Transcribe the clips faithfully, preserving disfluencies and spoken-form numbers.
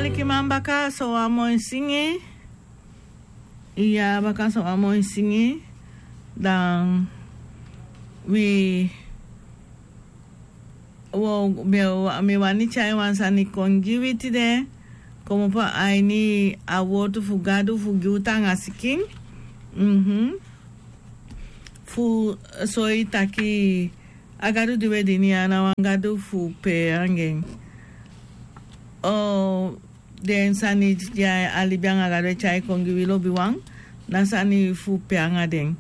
Alikiman, baka so wan moi singi. Iya, baka so wan moi singi. Dan wi wo mi wani tyai wan sani kon gi wi tide. Komopo a ini a wortu fu Gadu fu gi u taanga sikin. Mhm. Fu soi taki a Gadu di we dini ya na wan Gadu fu pe anga en. Den sani di a libi anga Gadu e tyai kon gi wi lobiwan, na sani fu pe anga den.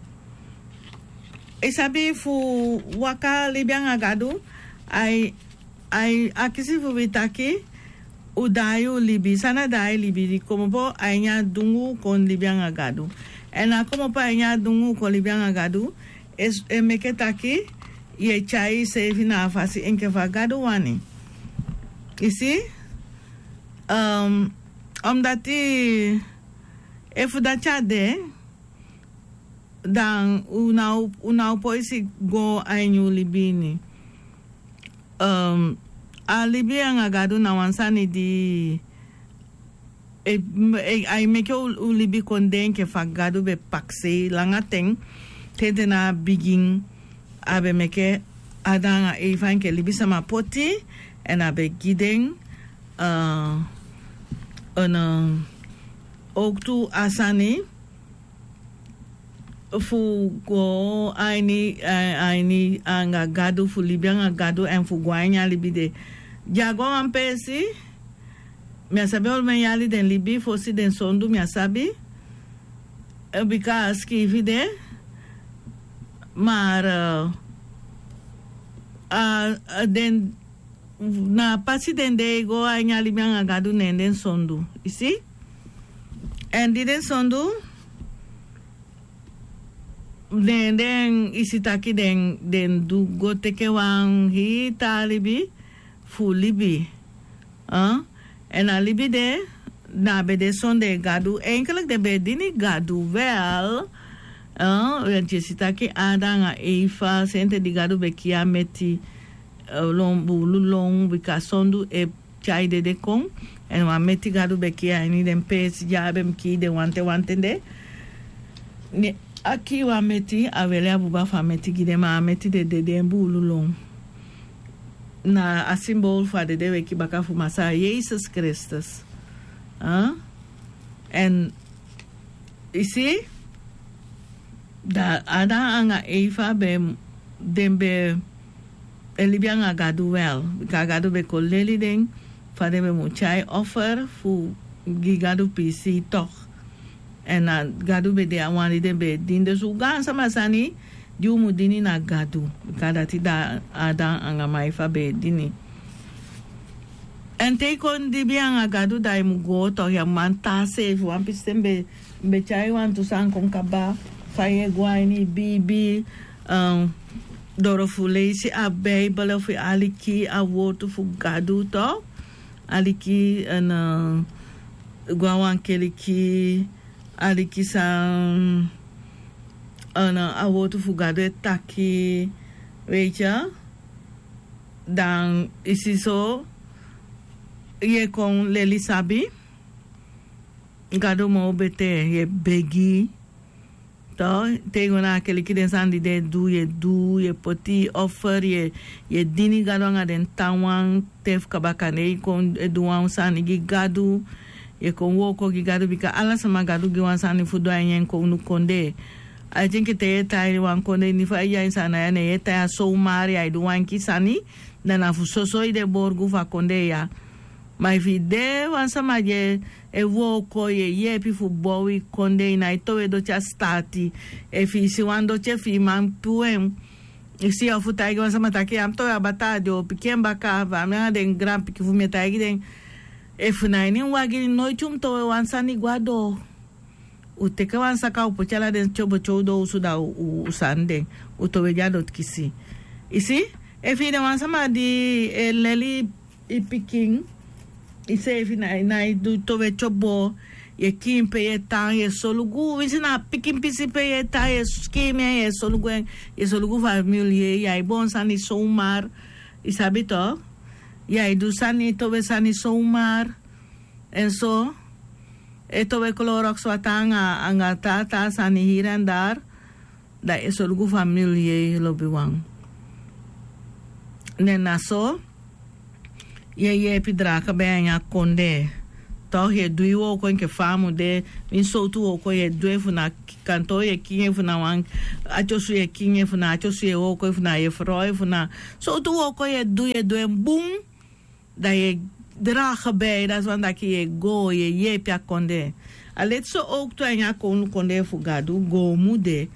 I sabi fu waka libi anga Gadu, ai, ai akisi fu wi taki, u daai u libi, san na daai libi, di komopo a ini a dungu kon libi anga Gadu. Èn a komopo a ini a dungu kon libi anga Gadu, e meke taki, yu e tyai iseefi na a fasi enke fa Gadu wani. I si? Omdati efu dati a de, dan u ná o poi si go a ini u libi ini. A libi anga Gadu na wan sani di ai meke u libi kon de enke fa Gadu be pakisei langa ten, te den na a bigin a be meke Adam anga Eva enke libisama poti, èn a be gi den owktu a sani fu go a ini anga Gadu, fu libi anga Gadu èn fu go a ini a libi de. Di a go a wan peesi, mi á sabi olo men yali den libi fosi den sondu, mi á sabi, bika a sikiifi de. Ma den na a pasi den de e go a ini a libi anga Gadu, ne den sondu. I si? Èn di den sondu, ne den, i si taki den du go teke wan hii taa libi fu libi. Èn a libi de na a be de sondee Gadu. Enkeliki den be e dini Gadu wel. Yu e si taki Adam anga Eva, sente di Gadu be kii a meti lon, buulu lon, bika sondu e tyai dede kon. Èn wan meti Gadu be kii a ini den peesi di a be mu kii den wanten wanten de. Ne a kii wan meti, a weli a buba fu a meti gi den, ma a meti de dede, en buulu lon. Na a simbol fu a dede weki baka fu Masaa Yesus Kristus. Èn i si, da Adam anga Eva be, den be e libi anga Gadu wel, bika Gadu be kon leli den fa den be mu tyai offer fu gi Gadu piisii toch. Èn na Gadu be de a wan di den be e dini. Dus u gaansama sani di u mu dini na Gadu, bika dati da Adam anga Eva be e dini. Èn te i kon libi anga Gadu, da i mu go toch, ya mu man tan seefi. Wan pisi ten mi be tyai wantu sani kon kaba, fa yu e go a ini i biibi, doro fu leisi a Beibel, fu aliki a wortu fu Gadu toch. Aliki, èn go a wan keliki, aliki san a wortu fu Gadu e taki, weet je. Dan i si so yu e kon leli sabi Gadu moo betee, yu e begi. Te i go na a keliki, den sani di den e du, yu e du, yu e poti offer, yu e dini Gadu anga den tan wan te fu kaba. Kande i kon e du wan sani gi Gadu, yu e kon wooko gi Gadu, bika ala sama Gadu gi wan sani fu du a ini en kownu kondee. Ai tinki te yu e tan a ini wan kondee, ini fa i de a ini Saanan ya, ne yu e tan ya zomaar, ya e du wan enke sani, da na fu soso i de borgu fu a kondee ya. Ma efu i de wan sama di e wooko, yu e yeepi fu bow i kondee, i nái towe doti a sitaati. Efu i si wan doti, efu i man puu en, i si, ofu taigi wan sama taki ya mu towe a bataa, den o piki en baka. Fa mi anga den granpikin fu mi e taigi den, efu na ini wagi, noiti u mu towe wan sani go a doo. U teke wan saka, u poti ala den tyobo te u doo osu, da u sani den, u towe gi a doti kisi. I si, efu i de wan sama di e leli i pikin, iseefi nái du towe tyobo, yu e kiin pe yu e tan, yu e solugu, winsi na a pikin pisi pe yu e tan, yu e kiin en, yu e solugu en, yu e solugu famili, yu e, yu e boon sani zomaar, i sabi toch, yu e du sani, towe sani zomaar. En so e towe kloroksu a tan anga taa taa sani hiri en dari. Da e solugu famili yei lobiwan. Nen na so yu e yeepi draga ben a ini a kondee. Tok' yu e du yu wooko enke fa a mu de. Ini sowtu wooko yu e du en fu na kantoo yu e kingi en fu na wan ati osu yu e kingi en fu na ati osu yu e wooko en fu na yu e frow en fu na sowtu wooko yu e du yu e du en bun. Da yu e draga ben dati wani taki yu e goo yu e yeepi a kondee. A leti so owktu a ini a kownu kondee fu gadu goo mu de.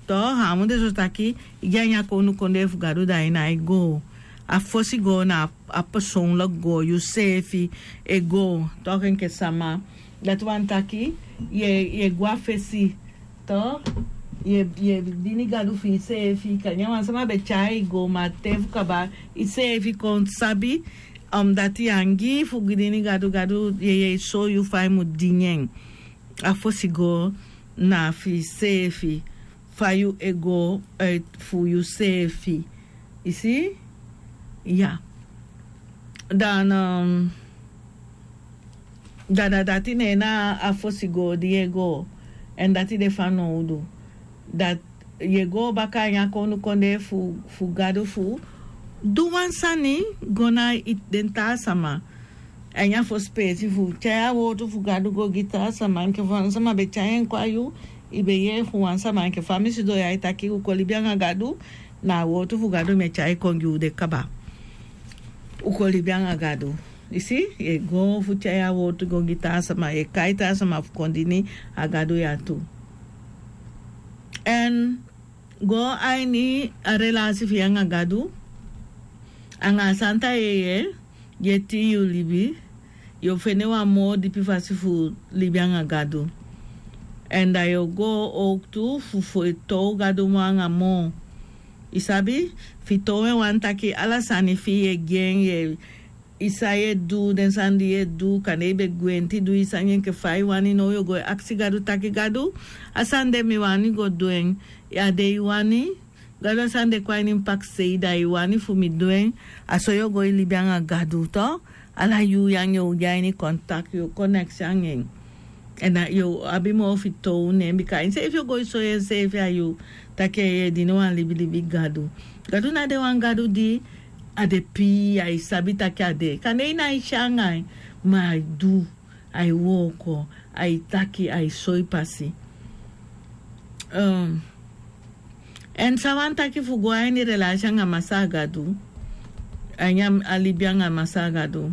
To a mu de so taki i gi a ini a kownu kondee fu gadu da yu nái goo. A fosi goo na a personlik goo yuseefi e goo. Toki enke sama dati wani taki yu e gwe a fesi. To yu e dini gadu fu yuseefi kande wan sama be tyai yu go ma te fu kaba yuseefi kon sabi. Dati yu angii fu dini gadu gadu yeye e soi yu fa yu mu dini en. A fosi go na fu yuseefi fa yu e go fu yuseefi. I si? Ya. Dan da na dati ne en na a fosi go di yu e go. Èn dati de fanowdu dati yu e go baka a ini a kownu kondee fu gadu fu du wan sani go na den taa sama. A ini a fosi peesi fu tyai a wowtu fu gadu go gi taa sama enke fa wan sama be tyai en kon a yu. I be yee fu wan sama enke fa mi sidon ya e taki u kon libi anga gadu. Na a wowtu fu gadu mi e tyai kon gi u de kaba. U kon libi anga gadu. I si yu e go fu tyai a wowtu go gi taa sama yu e kai taa sama fu kon dini a gadu ya tu. Èn go a ini a relasi fu yu anga gadu anga a santa yeye yu e tin yu libi. Yu o fende wan moo dipi fasi fu libi anga gadu. Èn da yu o go owktu fu fitow gadu moo anga moo. I sabi fitow en wani taki ala sani fi yu e gi en yu e i san yu e du den sani di yu e du kande i be gwenti du i sani enke fa i wani now yu o go e aksi gadu taki gadu a sani de mi wani go du en. A de i wani gadu a sani de kon a ini mi pakisei da i wani fu mi du en. A so yu o go e libi anga gadu to ala yuu ya nge o gi a ini kontakti yu o koneksi anga en. Èn yu o abi moo fitow ne en bika a ini seefi o go e soi enseefi a yu taki yu e dini wan libilibi gadu. Gadu na de wan gadu di a de pii ai sabi taki a de kande i nái si anga en. Ma ai du ai wooko ai taki ai soi pasi. Èn san wani taki fu go a ini relasi anga masaa gadu a ini a libi anga masaa gadu.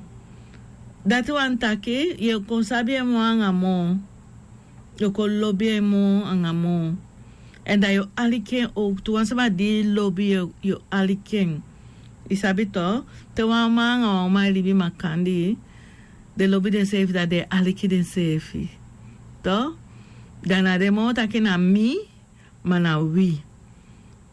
Dati wani taki yu o kon sabi en moo anga moo. Yu o kon lobi en moo anga moo. Èn da yu o aliki en owktu wan sama di lobi yu o aliki en. I sabi to te wan man anga wan uman e libi makandii den lobi denseefi da den e aliki denseefi. To da na den moo taki na mi ma na wi.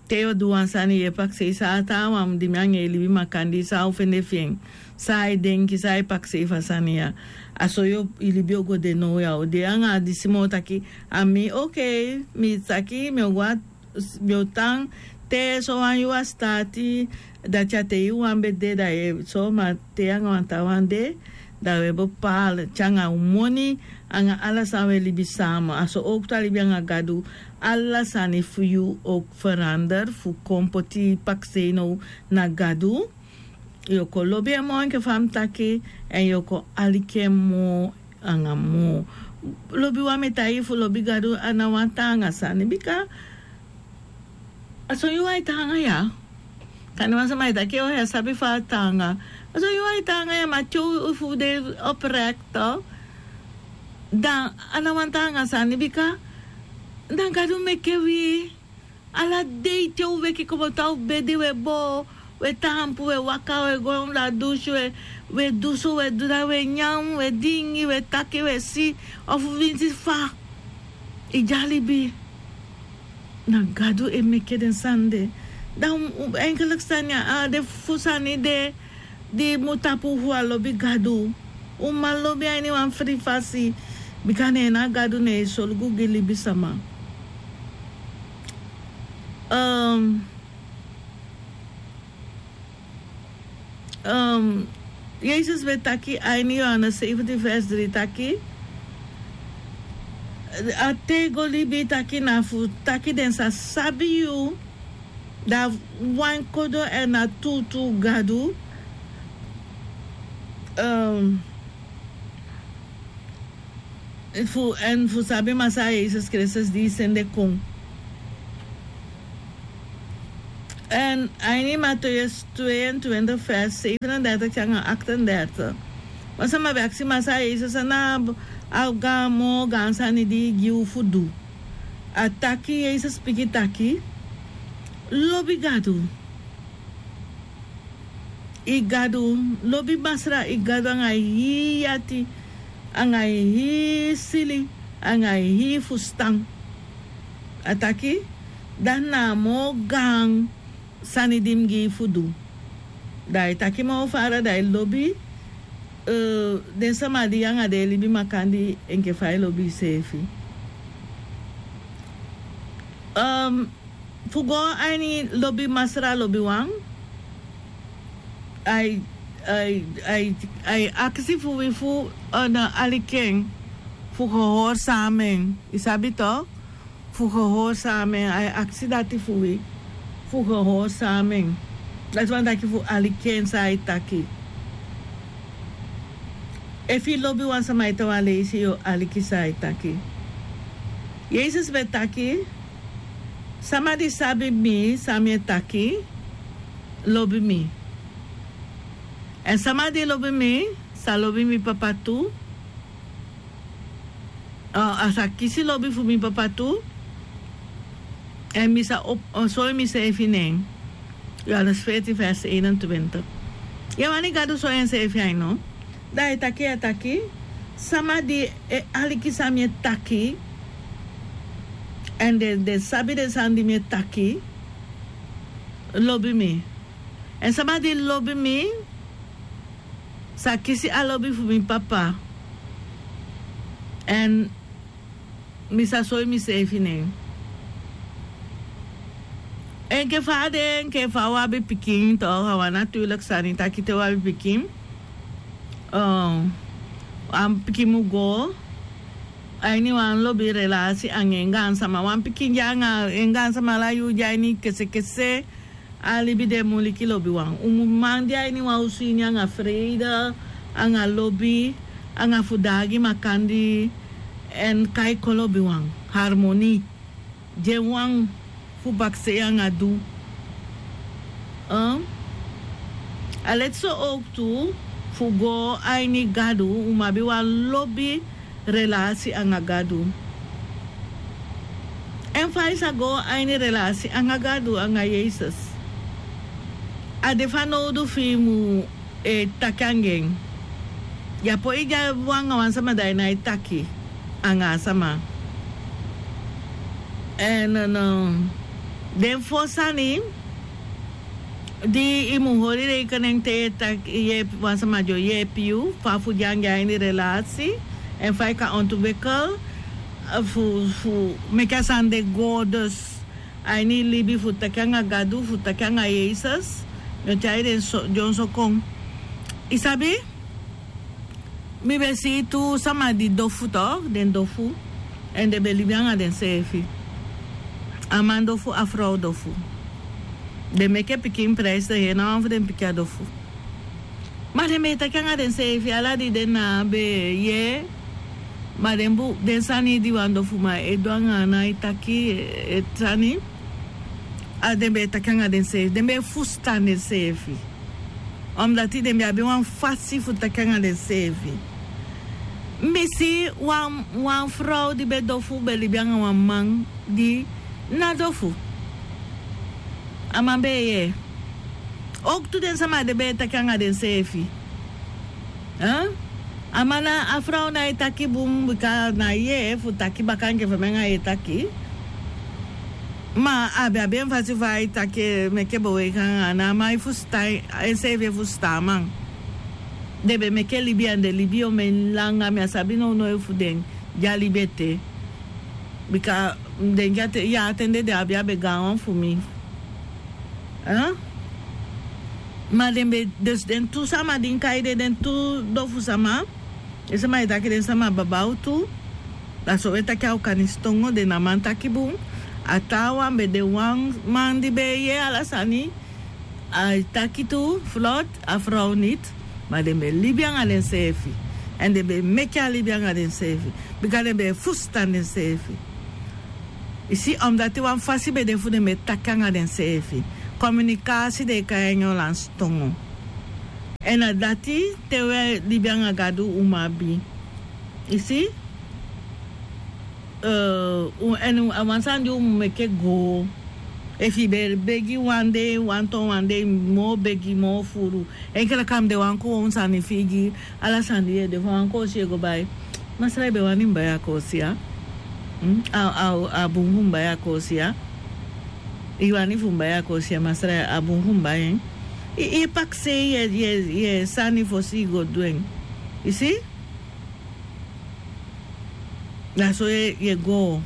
Te yu o du wan sani yu e pakisei san a taawan di mi anga en e libi makandii san a o fende fi en? San ai denki san ai pakisei fu a sani ya? A so yu o i libi o go de now ya o de anga a disi moo taki a mi okei mi taki mi o go a mi o tan te sowan yuu a staati. Dati a te yu wan be de da yu e so ma te yu anga wan taawan de da wi e bepaal te anga un moni anga ala san wi e libi sama a so owktu a libi anga gadu. Ala sani fu yu o ferander fu kon poti pakisei now na gadu. Yu o kon lobi en moo enke fa mi taki èn yu o kon aliki en moo anga moo. Lobi wan mi e taigi fu lobi gadu a na wan taanga sani bika a son yuu ai taanga ya. Kande wan sama e taki o ya sabi fa a taanga. A son yuu ai taanga ya ma te u fu de oprekto dan a na wan taanga sani bika dan gadu meke wi. Ala dei te u weki komoto a u bedi u e boo u e taampu u e waka u e go na dusu u e du so u e du dati u e nyan u e dingi u e taki u e si. Ofu winsi fa i de a libi. Na gadu e meke den sani de. Dan enkeliki sani a de fu sani de di mu tapu fu a lobi gadu. Un man lobi a ini wan fri fasi bika na en na gadu na e solugu gi libisama. Yesus ben taki a ini Yohanes sefentin vers dri taki, a tego libi taki na fu taki den sa sabi yu, da wan kodo èn na tutu Gadu. Ehm, fu, èn fu sabi Masra Yesus Kristus di sende kon. Èn a ini Mateus tweeëntwintig vers zevenendertig nanga achtendertig. Wan sama ben aksi Masra Yesus, na a gaan moo gaan sani di gi u fu du. A taki, Yesus piki taki, lobi Gadu. I Gadu, lobi Masra i Gadu anga i hii ati, anga i hii sili, anga i hii fustan. A taki, dati na a moo gaan sani di mi gi i fu du. Da i taki moo fara, da i lobi, eh, den sama di yu anga den e libi makandii enke fa i lobi iseefi. Ehm, fu go a ini lobi Masra lobiwan, ai, ai, ai, ai aksi fu wi fu, eh, na aliki en fu gehoorzaam en. I sabi toch? Fu gehoorzaam en. Ai aksi dati fu wi fu gehoorzaam en. Dati wani taki fu aliki en san ai taki. Efu i lobi wan sama ete wan leisi, yu o aliki san ai taki. Yesus ben taki, sama di sabi mi san mi e taki, lobi mi. Èn sama di lobi mi, sa lobi mi Papa tu. A, a sa kisi lobi fu mi Papa tu. Èn mi sa op, a, soi miseefi na en. Johannes veertien vers eenentwintig. Yu e wani Gadu soi enseefi a yu no? Da a e taki, a taki, sama di e aliki san mi e taki, èn den, den sabi den sani di mi e taki, lobi mi. Èn sama di lobi mi, sa kisi a lobi fu mi Papa. Èn mi sa soi miseefi na en. Enke fa a de, enke fa u abi pikin toch, a wan natuurlijke sani taki te u abi pikin. Eh, a pikin mu go a ini wan lobi relasi anga en gaansama. Wan pikin de anga en gaansama ala yuu de a ini kesekese. A libi de muliki lobiwan. Un mu man de a ini wan osu ini anga freide, anga lobi, anga fu daagi makandii, èn kai kon lobiwan. Harmonie. Den wan fu bakisei anga du. Eh? A leti so ook tu fu go a ini Gadu, un mu abi wan lobi relasi anga Gadu. Èn fa i sa go a ini relasi anga Gadu, anga Yesus, a de fanowdu fi i mu, eh, taki anga en. Yu á poi de anga wan sama da i nái taki anga a sama. Èn, eh, no, den fo sani di i mu hori rekening te yu e taki, yeepi wan sama di o yeepi yu, fa fu de anga en a ini relasi, èn fa i kan ontwikkel, eh, fu, fu meke a sani de go dus a ini i libi fu taki anga Gadu, fu taki anga Yesus, mi o tyai den so, dyonson kon. I sabi? Mi ben si tu sama di dofu toch, den dofu, èn den ben libi anga denseefi. A man dofu, a frow dofu. Den meke pikin prijs, den heri ná wan fu den pikin a dofu. Ma den ben e taki anga denseefi, ala di den na ben e yee, ma den bu, den sani di wan dofuman e du anga a nái taki, e, e sani, a den ben e taki anga denseefi, den ben e fusutan denseefi. Omdat den ben abi wan fasi fu taki anga denseefi. Mi si wan, wan frow di ben dofu ben libi anga wan man di ná dofu. A man ben e yee. Ook tu den sama de ben e taki anga denseefi. Eh? A man na, a frow nái taki bun bika a nái yee fu taki baka enke fa mi anga yu e taki. Ma a ben abi en fasi fa ai taki, meke beweging anga a man e fusutan, enseefi e fusutan a man. Den ben meke libi èn den libi omen langa, mi á sabi nownow efu den de a libi ete. Bika mi denki a ten, ya a ten de den abi a be gaanwan fu mi. Eh? Ma den be, dus den tu sama di e kai den, den tu dofu sama, den sama e taki den sama babautu. Da so we taki a Okanistongo, den na man taki bun. A taawan be de wan man di be e yee ala sani. A e taki tu, vlot, a vrouw niet. Ma den be libi anga denseefi. Èn den be meki a libi anga denseefi. Bika den be e fusutan denseefi. I si, omdati wan fasi be de fu den be taki anga denseefi. Kominikasi den e kai en Olansitongo. Èn na dati te we libi anga Gadu un mu abi. I si? Eh, un, èn a wan sani di un mu meke go. Efu i be begi wan dei, wan ton wan dei, moo begi, moo furu. Enke leki a mu de wan kowownu sani fi i gi, ala sani di i e de fu wan koosi i e go bai. Masra, i be wani mi bai a koosi ya? Hmm? A, a, a bun fu mi bai a koosi ya? I wani fu mi bai a koosi ya, masra, a bun fu mi bai en? I, i pakisei i e, i e, i e sani fosi i go du en. I si? Da so i e, i e go.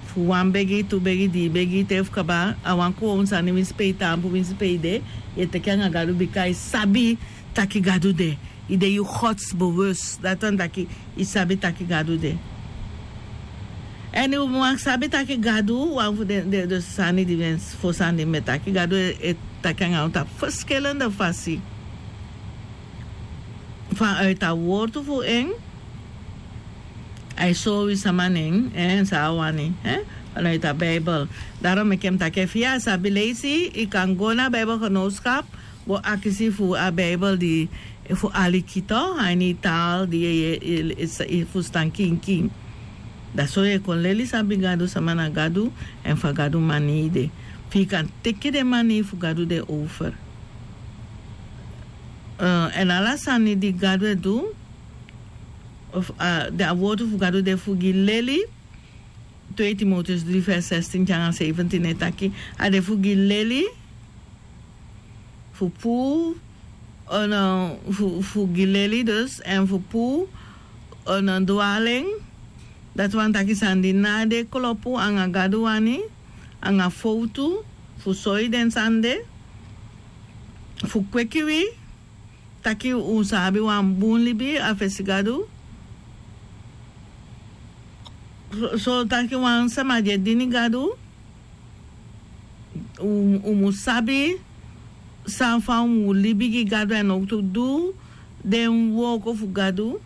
Fu wan begi, tu begi, dii begi, te fu kaba, a wan kowownu sani winsi pe i taampu, winsi pe i de, i e teke anga Gadu bika i sabi taki Gadu de. I de yu godsbewust. Dati wani taki i sabi taki Gadu de. Èn i mu sabi taki Gadu, wan fu den, den, den sani di mi e, fosi sani di mi e taki, Gadu e, e taki anga unu tapu verschillende fasi. Vanuit a wortu fu en, a e sori wi sama nen, eh, san a wani, eh, vanuit a Bijbel. Daarom meke mi taki efu i á sabi leisi, i kan go na Bijbelgenootschap, go akisi fu a Bijbel di, fu aliki toch, a ini i taal di i, i, i, i fusutan kinkin. Da so i e kon leli sabi Gadu, sama na Gadu, èn fa Gadu manii de. Fu i kan teke den manii fu Gadu de over. Eh, èn ala sani di Gadu e du, of, ah, den a wortu fu Gadu de fu gi leli, twee Timotheus drie vers zestien te nanga zeventien e taki, a de fu gi leli, fu puu, eh, no, fu, fu gi leli dus, èn fu puu, eh, no, dwaling, dati wani taki sani di ná de klopu anga Gadu wani, anga fowtu, fu soi den sani de, fu kweki wi, taki un sa abi wan bun libi a fesi Gadu. So, so taki wan sama di e dini Gadu, un, un mu sabi san fa un mu libi gi Gadu èn owktu du den wooko fu Gadu.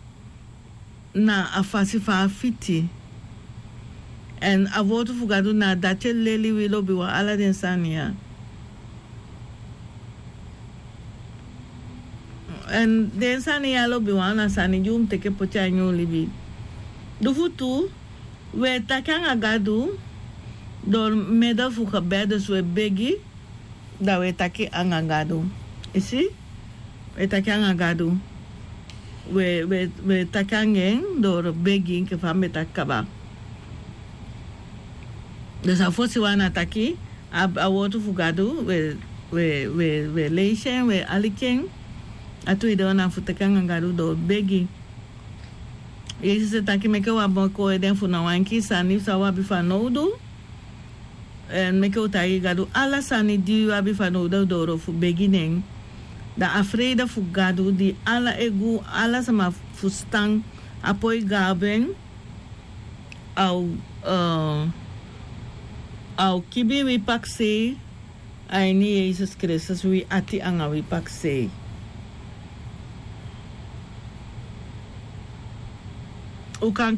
Na a fasi fa a fiti. Èn a wortu fu Gadu na dati e leli wi lobiwan ala den sani ya. Èn den sani ya lobiwan na sani di un mu teke poti a ini un libi. Di fu tu, we taki anga Gadu door middel fu gebed, dus we begi, da we taki anga Gadu. I si? We taki anga Gadu. We, we, we taki anga en door begi enke fa mi be taki kaba. Dus a fosi wan na taki, a, a wortu fu Gadu, we, we, we, we leisi en, we aliki en. A tweede wan na fu taki anga Gadu door begi. Yesus e taki meke wi abi kon e den fu na wan enkii sani san wi abi fanowdu. Èn meke wi taigi Gadu ala sani di wi abi fanowdu door fu begi nen. Da a vrede fu Gadu di ala e gi ala sama fusutan, a poi gawen, a o, eh, a o kibi wi pakisei a ini Yesus Kristus, wi ati anga wi pakisei. Un kan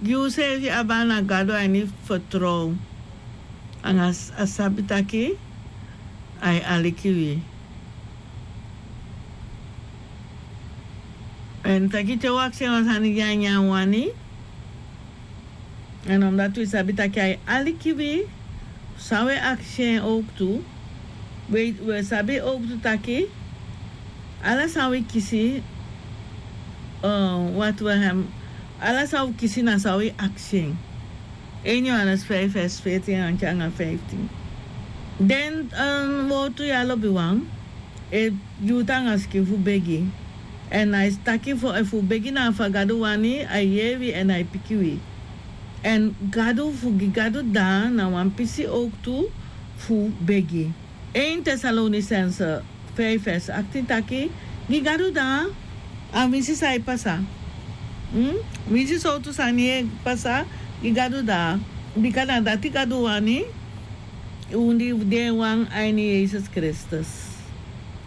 gi useefi abi na Gadu a ini vertrouwen. Anga s-, a sabi taki a e aliki wi. Èn taki te wi akisi en wan sani di a nyan wani. Èn omdati wi sabi taki a e aliki wi, san wi e akisi en owktu, wi, wi e sabi owktu taki, ala san wi kisi, eh, wat wi hem, ala san wi kisi na san wi akisi en. Een Johannes vijf vers veertien anga vijftien. Den, eh, wortu ya lobiwan, e gi u tanga sikin fu begi. Èn a e taki fu, efu u begi na fa Gadu wani, a e yee wi èn a e piki wi. Èn Gadu, fu gi Gadu dda na wan pisi owktu fu begi. Een Tessalonicense Fei fesi aktin taki, gi Gadu daa, a winsi san e pasa. Winsi sowtu sani e pasa, gi Gadu daa. Bika na dati Gadu wani, un di de wan a ini Yesus Kristus.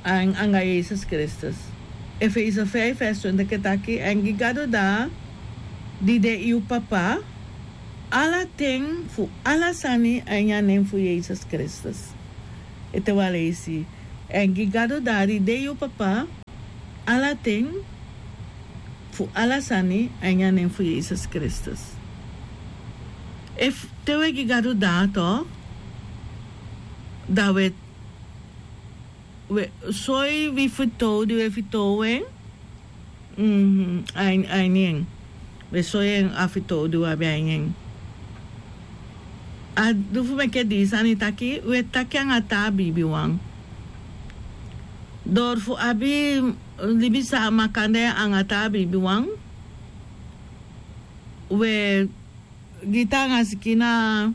Anga Yesus Kristus. Efeso fei fesi twenti e taki, èn gi Gadu daa, di de yu Papa, ala ten fu ala sani a ini a nen fu Yesus Kristus. Ete wan leisi. Èn gi Gadu daa di de yu Papa, ala ten fu ala sani a ini a nen fu Yesus Kristus. Efu te wi e gi Gadu daa, dan wi e, wi e soi wi fitoow di wi e fitoow en, a ini en. Wi e soi en a fitoow di wi abi a ini en. A du fu meke dii sani taki, wi e taki anga taa biibiwan. Dori fu abi libi san makandra anga taa biibiwan, wi e gi taanga sikin na,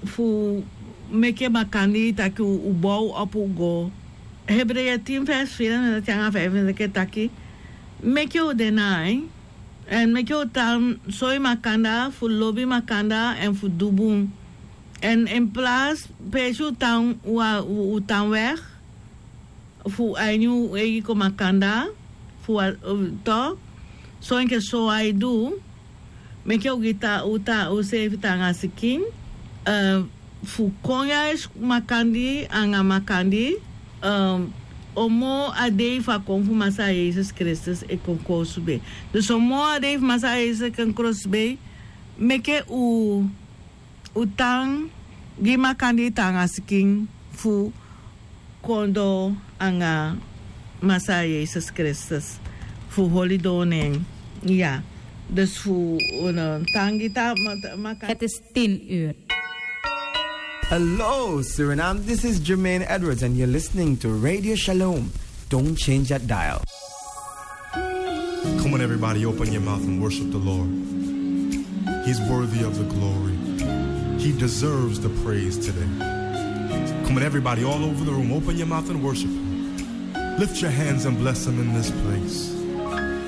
fu meke makandii taki u bow opo go. Hebreeën tien vers vierenveertig anga vijfenveertig e taki, meke u de nai, èn meke u tan soi makandra fu lobi makandra èn fu du bun. Èn in plaats peesi u tan, u tan weg, fu a ini u eigi kon makandra, fu a, to, so enke so a e du, meke u gi ta, u ta, u seefi taanga sikin, fu kon yais makandii anga makandii, o moo a dei fu a kon fu Masaa Yesus Kristus e kon koosubei. Dus o moo a dei fu Masaa Yesus e kon koosubei, meke u u tan gi makandii taanga sikin fu kon doo anga Masaa Yesus Kristus, fu holi doo na en. Ya. Dus fu un tan gi ta, ma, ta, makandii. Het is tien uur. Hello, Suriname. This is Jermaine Edwards, and you're listening to Radio Shalom. Don't change that dial. Come on, everybody, open your mouth and worship the Lord. He's worthy of the glory. He deserves the praise today. Come on, everybody, all over the room, open your mouth and worship Him. Lift your hands and bless Him in this place.